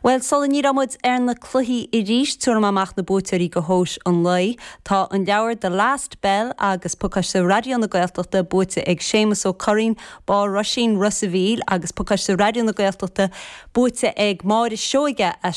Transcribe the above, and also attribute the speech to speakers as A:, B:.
A: Bhuel, sula ndíreoidh muid ar na cluichí arís, tabharfaidh mé amach na buaiteoirí do thomhais an lae. Tá an leabhar The Last Bell agus pacáiste Raidió na Gaeltachta buaite ag Séamus Ó Curraoin, Barr Roisín, Ros a' Mhíl agus pacáiste Raidió na Gaeltachta buaite ag Máire Seoige as.